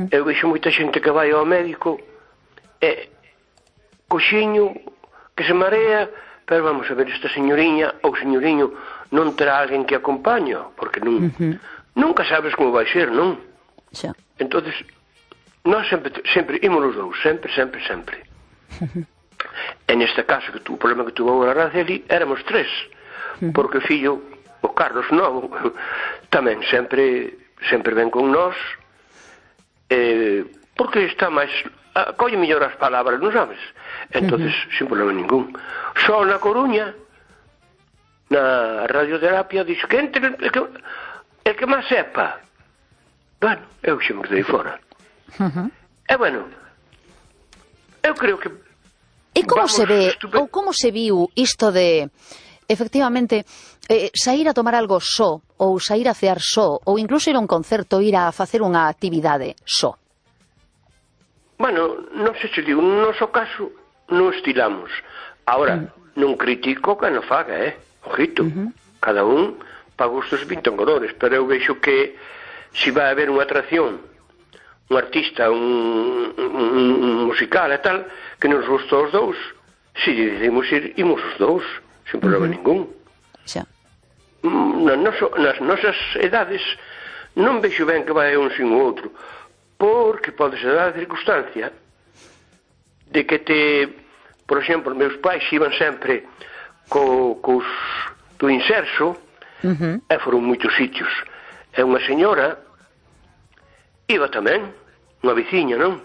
Eu vexo moita xente que vai ao médico e coxiño que se marea, pero vamos a ver, esta señoriña ou señoriño non terá alguén que acompañe, porque nunca sabes como vai ser, non? Xa. Entonces, nós sempre imos os dous, sempre. E neste caso, o problema que tuvo a Araceli, éramos 3, porque o fillo, o Carlos Novo, tamén sempre ven con nós, porque está máis, colle mellor as palabras, non sabes? Entonces, sin problema ningún. Só na Coruña, na radioterapia, dixo que entre el que máis sepa. Bueno, eu xe me quedei fora. E bueno, eu creo que e como se ve, ou como se viu isto de, efectivamente, sair a tomar algo só, ou sair a cear só, ou incluso ir a un concerto, ir a facer unha actividade só? Bueno, non sei se digo, no noso caso non estilamos. Ahora, non critico que non faga, ojito, cada un para gustos pintan colores, pero eu vexo que se vai haber unha atracción, un artista, un musical e tal, que nos gusta os dous, se decidimos ir, imos os dous, sin problema ningún. Xa. Nas nosas edades non vexo ben que vai un sin o outro, porque pode ser a circunstancia de que por exemplo, meus pais iban sempre cos do inserso, e foron moitos sitios, e unha señora iba tamén, unha veciña, non?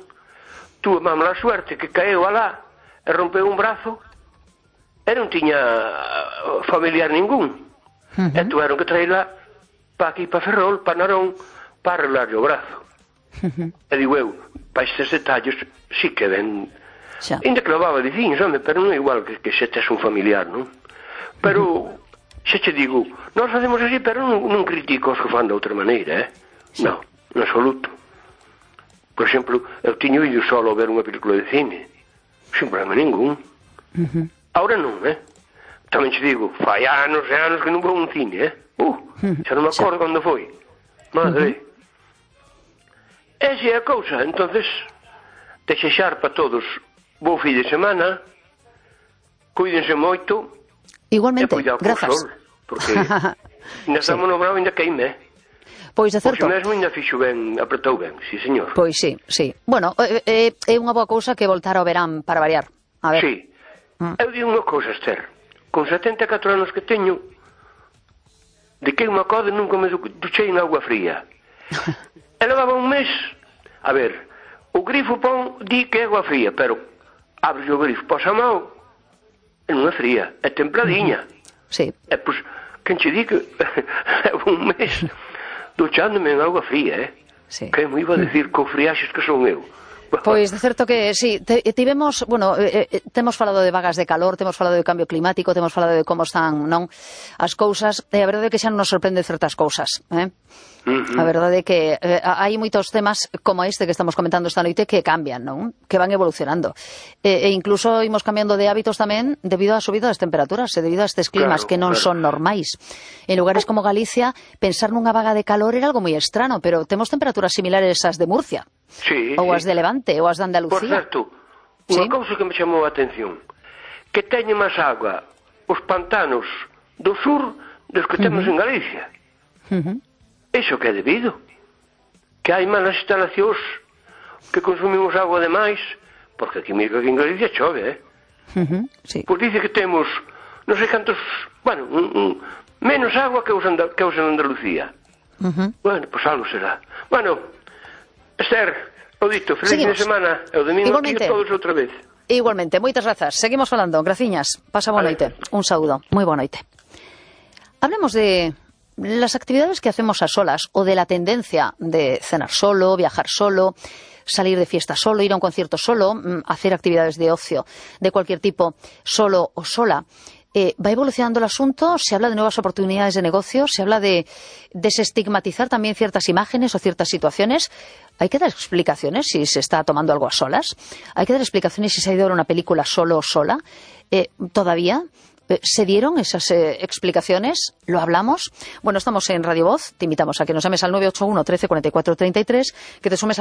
Tuve má mala suerte que caeu alá e rompeu un brazo e non tiña familiar ningún, e tuveron que traerla para aquí, para Ferrol, para Narón, para arreglarle o brazo. E digo eu, para estes detalles sí que ven, ainda que levaba veciños, pero non é igual que se tes un familiar, non? Pero xa che digo, nós facemos así, pero non critico os que fan de outra maneira, non, en absoluto. Por exemplo, eu tiño ido solo a ver unha película de cine, sin problema ningún. Ahora non, tamén che digo, fai anos e anos que non vou a un cine, xa non me acordo cando foi. Madre. Esa é a cousa, entonces, desexar para todos bo fin de semana, cuídense moito. Igualmente, grazas. Porque ainda estamos no grau, ainda queime, Pois de certo. Pois mesmo ainda fixo ben, apretou ben, sí, señor. Pois sí. Bueno, é unha boa cousa que voltar ao verán para variar. A ver. Sí. Eu digo unha cousa, Esther. Con 74 anos que teño, de que unha code nunca me duchei en agua fría. E levaba un mes. A ver, o grifo pon di que é agua fría, pero abre o grifo, posa a mão, e non é fría, é templadiña. Sí. E pois, quen che di que un mes duchándome en agua fría, Sí. Que me iba a decir con friaxes que son eu. Pois de certo que sí, tivemos, bueno, temos falado de vagas de calor, temos falado de cambio climático, temos falado de como están, non, as cousas, e a verdade é que xa non nos sorprende certas cousas, A verdade é que hai moitos temas como este que estamos comentando esta noite que cambian, non? Que van evolucionando. E incluso imos cambiando de hábitos tamén debido á subida das temperaturas e debido a estes climas que non son normais. En lugares como Galicia, pensar nunha vaga de calor era algo moi estrano, pero temos temperaturas similares ás de Murcia. Sí, ou as de Levante, ou as de Andalucía. Por certo, unha cousa que me chamou a atención, que teñen máis agua os pantanos do sur dos que temos en Galicia. Iso que é debido? Que hai malas instalacións, que consumimos agua demais, porque aquí mesmo en Galicia chove, Sí. Pois dice que temos non sei cantos, bueno, menos agua que os en Andalucía. Bueno, pois algo será. Bueno, Esther, o dito, feliz fin de semana, e o domingo aquí todos outra vez. Igualmente, moitas grazas. Seguimos falando, graciñas. Pasa boa noite. Un saúdo, moi boa noite. Hablemos de las actividades que hacemos a solas, o de la tendencia de cenar solo, viajar solo, salir de fiesta solo, ir a un concierto solo, hacer actividades de ocio de cualquier tipo, solo o sola. Va evolucionando el asunto, se habla de nuevas oportunidades de negocio, se habla de desestigmatizar también ciertas imágenes o ciertas situaciones. Hay que dar explicaciones si se está tomando algo a solas. Hay que dar explicaciones si se ha ido a ver una película solo o sola. ¿Todavía se dieron esas explicaciones? ¿Lo hablamos? Bueno, estamos en Radio Voz. Te invitamos a que nos llames al 981 13 44 33, que te sumes a la